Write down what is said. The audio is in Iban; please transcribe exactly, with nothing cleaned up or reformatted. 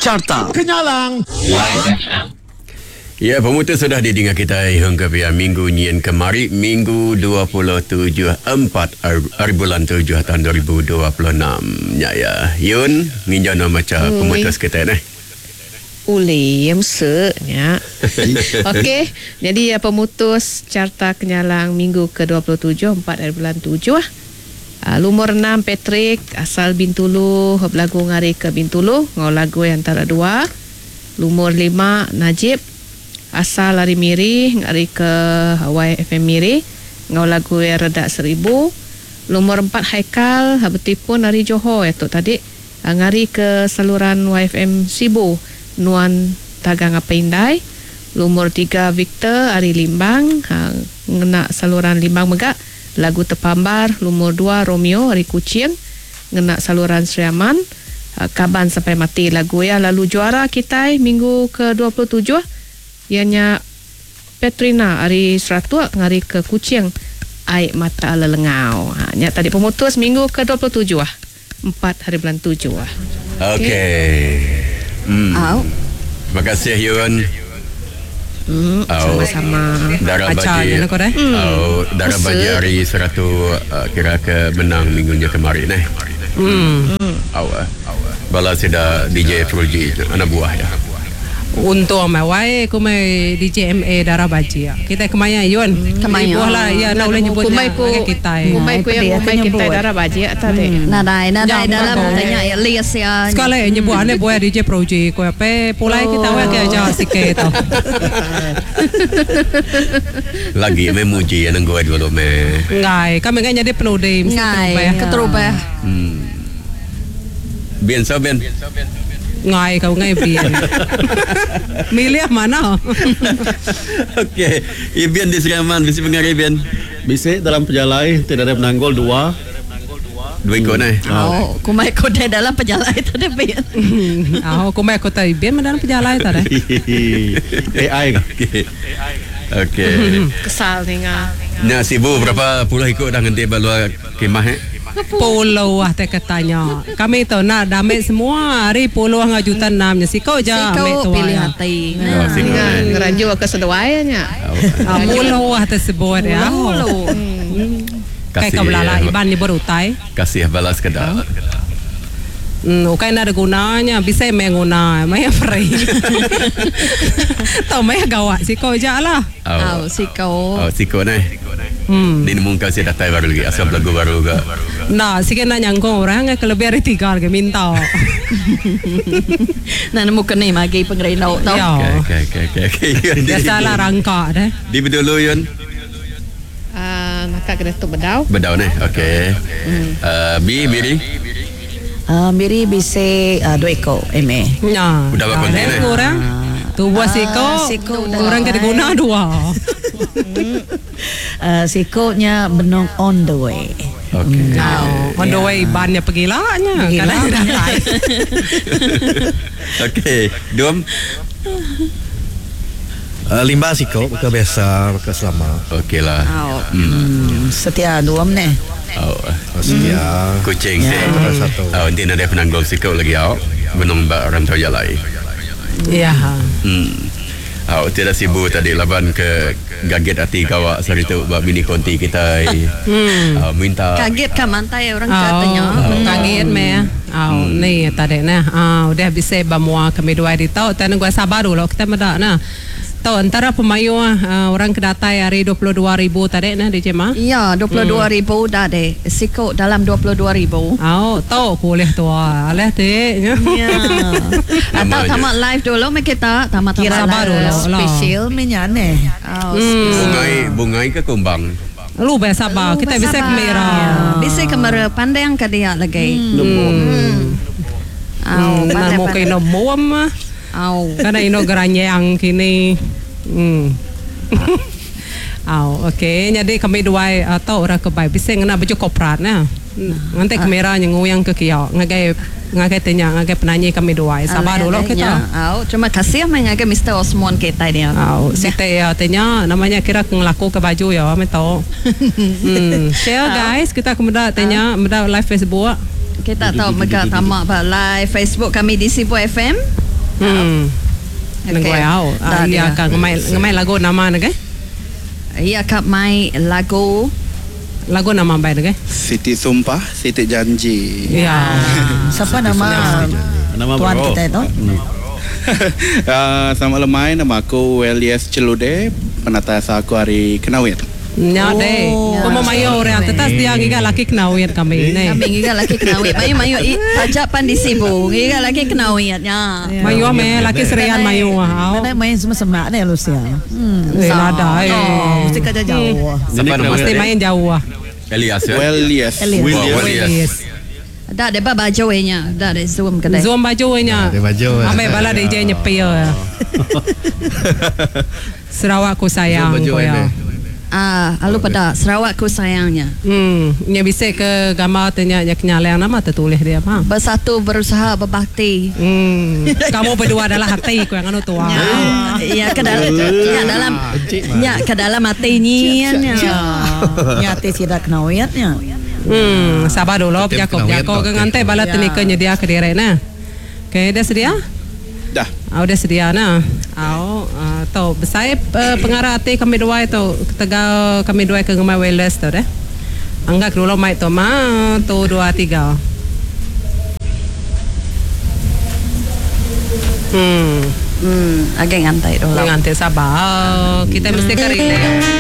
Carta Kenyalang. Ya, pemutus sudah didengar kita hingga pia minggu nyin kemari, minggu dua puluh tujuh empat hari bulan tujuh tahun dua ribu dua puluh enam. Ya ya, Yun, nginjau nama baca pemutus kita ni. Uli, yang nya. Okey, jadi ya, pemutus Carta Kenyalang minggu ke dua puluh tujuh empat hari bulan tujuh. Uh, lumur enam Patrick asal Bintulu, belagu ngari ke Bintulu, ngau lagu yang antara dua. Lumur lima Najib asal ari Miri, ngari ke Y F M Miri, ngau lagu yang redak seribu. Lumur empat Haikal betipun ari Johor itu tadi, ngari ke saluran Y F M Sibu. Nuan Tagang Apa Indai. Lumur tiga Victor ari Limbang, ha, ngena saluran Limbang mega lagu Tepambar. Lumur dua Romeo ari Kuching, ngena saluran Sri Aman, ha, Kaban Sampai Mati lagu ya. Lalu juara kita minggu ke dua puluh tujuh ianya Petrina ari Seratuk ngari ke Kuching, Ai Mata Lelengau. Ha, nya tadi pemutus minggu ke dua puluh tujuh empat hari bulan tujuh. Okey. Okay. Hmm. Au. Terima kasih Yun. Hmm, sama-sama. Darah baji. Hmm. Oh, darah baji hari seratu uh, kira ke menang minggunya kemarin eh. Hmm. Hmm. Aw. Bala sudah D J Fruji anak buah ya. Untung mai wai ku mai D J M A darah baji. Kita kemaya Yun. Kemaya. Buah lah ya nak boleh nyebut kumai ku kita. Kumai ku yang kumai kita darah baji tadi. Nadai nadai dalam tanya ya lias ya. Sekali nyebut ane buah D J Proji ku apa pulai kita wai ke aja sikit tu. Lagi memuji yang gua dulu me. Ngai, kami ngai jadi penudi mesti terubah. Keterubah. Hmm. Bian so bian. Ngai kau ngai bian. Milih mana? Okey, Ibian di Sri Aman bisi pengaruh Ibian. Bisi dalam perjalai tidak ada penanggul dua. Dua ikut eh. Oh, kumai kau dalam perjalai tadi Bian. Oh, kumai kau tadi Bian dalam perjalai tadi. A I. Okey. Okey. Kesal ni ngah. Nya sibu berapa puluh ikut dah nganti balua kemah eh? Puluh ah tak katanya. Kami tu nak damai semua hari puluh ngah juta enam nya siko je ambil tu pilih hati. Nah, siko ngerajuk ke seduai nya. Ah puluh ah tersebut ya. Puluh. Kasih kau belala iban ni berutai. Kasih balas kedah. Hmm, ukai nak ada gunanya, bisa menguna, maya free. Tau maya gawat siko je lah. Oh, siko. Oh, siko ni. Hmm. Di nemu kau saya datang baru lagi, asal lagu baru ke. Nah, sikit nak nyangkong orang ke lebih dari tiga lagi minta. Nah, nemu kena lagi pengerino tau. Okey, okey, okey, okey. Biasalah rangka deh. Di dulu Yun. Ah, nak kena tu bedau. Bedau ni, okey. Uh, B, Miri. Uh, Miri bisa uh, dua ekor M A. Ya. Udah berapa konten eh? Orang. Tu buat siko, orang kena guna dua. Uh, sikonya benung on the way. Okey. Mm. Oh, on the way bannya pergilanya. Kadang datang. Okey, Dum. Uh, limba siko bukan biasa, bukan selama. Okeylah. Oh. Hmm. Hmm. Setia dua ni. Oh, setia. Hmm. Kucing ya. Satu. Oh, dia ada penanggul siko lagi awak. Benung bak orang tahu jalai. Ya. Hmm. Oh, tidak sibuk tadi laban ke gaget hati kawak sehari tu buat mini konti kita. Hmm. Uh, minta kaget ke mantai orang oh, katanya. Oh. Kaget me. Oh, hmm. Ni tadi nah. Ah, udah bisa bamua kami dua di tau. Tan gua sabar dulu kita medak nah. Tau antara pemayu uh, orang kedatai hari dua puluh dua ribu tadi nah di Jema. Ya, dua puluh dua ribu dah deh. Siko dalam dua puluh dua ribu. Oh, tau boleh tua. Aleh ti. Ya. Atau tamat live dulu me kita, tamat-tamat sabar dulu. Special menyane. Oh, hmm. Bungai bungai ke kumbang. Lu biasa sabar. Kita bisa kamera. Ya. Bisa kamera pandang ke dia lagi. Hmm. Hmm. Oh, pandai mau kena muam. Au. Karena ino geranyang kini. Hmm. Au, okey. Jadi kami dua atau orang ke bai bisa ngena baju korporat nah. Nanti kamera yang ke kia, ngagai ngagai tanya ngagai penyanyi kami dua. Sabar dulu kita. Au, terima kasih mengagai Mister Osmond kita dia. Au, site ya tanya namanya kira ngelaku ke baju ya, ame tahu. Hmm, share guys, kita kemudian tanya, muda live Facebook. Kita tahu mega tamak ba live Facebook kami di Sibu F M. Hmm. Okey. Nengoi au. Dah Ah, iya dia. ka ngemai ngemai lagu nama ne ke? Iya ka mai lagu Lagu nama bai ne ke? Siti Sumpah, Siti Janji. Ya. Siapa nama Nama tuan bro. kita itu? Uh, selamat lemai, nama aku Welias Celude, penata aku hari Kenawit. Nya deh. Komo mayo orang tetas dia ngiga laki kenawit kami ne. Kami ngiga laki kenawit. Mayu mayu i pajak pan di Sibu. Ngiga laki kenawit nya. Mayo me laki serian mayo au. Mana main semua semak ni Lucia. Hmm. Eh nada eh. Oh, mesti kerja jauh. Siapa nama? Mesti main jauh ah. Elias ya. Welias. Elias. Wah, Elias. Yes. Dah ada baju nya. Dah ada zoom kedai. Zoom baju nya. Dia baju. Ambil bala D J nyepi ya. Sarawak ku sayang Zoom baju ku ya. ini. Ah, alu pada Sarawak ku sayangnya. Hmm, nya bisa ke gambar tanya nya kenyalang nama tertulis dia apa? Bersatu berusaha berbakti. Hmm, kamu berdua adalah hati ku yang anu tua. Ya, ya ke dalam ya dalam ya ke dalam hati ni ya. Ya hati tidak kenawitnya. Hmm, sabar dulu Betul, Jakob. kenawit Jakob tu. ke ngantai bala Ya. tenika nyedia ke diri nah. Okey, dah sedia? Dah. Ah, udah sedia nah. Au, uh, tau besai uh, pengarah hati kami dua itu tegal kami dua ke ngemai wireless tu deh. Anggap dulu mic tu ma tu dua tiga. Hmm. Hmm, agak ngantai dulu. Ngantai sabar. Kita mesti ke relax.